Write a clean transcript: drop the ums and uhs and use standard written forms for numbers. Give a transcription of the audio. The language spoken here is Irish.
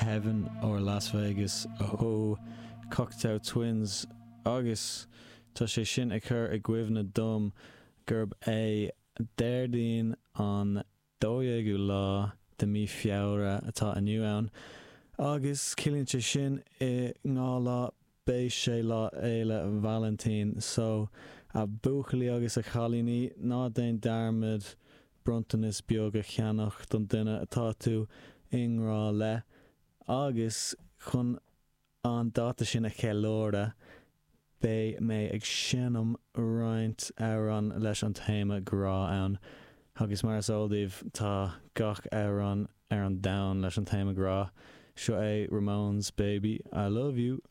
Heaven or Las Vegas ó Cocteau Twins agus tá sé sin ag cur i gcuimhne dom gurb é Déardaoin an 12ú lá de mí Feabhra atá inniu ann agus ciallaíonn sé sin i ndhá lá beidh sé Lá Fhéile Vailintín so a bhuachaillí agus a chailíní ná déan dearmad bronntanas beag a cheannach don duine atá tú i ngrá le agus chun an dáta sin a cheiliúradh beidh mé ag seinm roinnt amhrán leis an téama grá ann agus mar is eol daoibh tá gach amhrán ar an domhan leis an téama grá. Seo é Ramones Baby I Love You.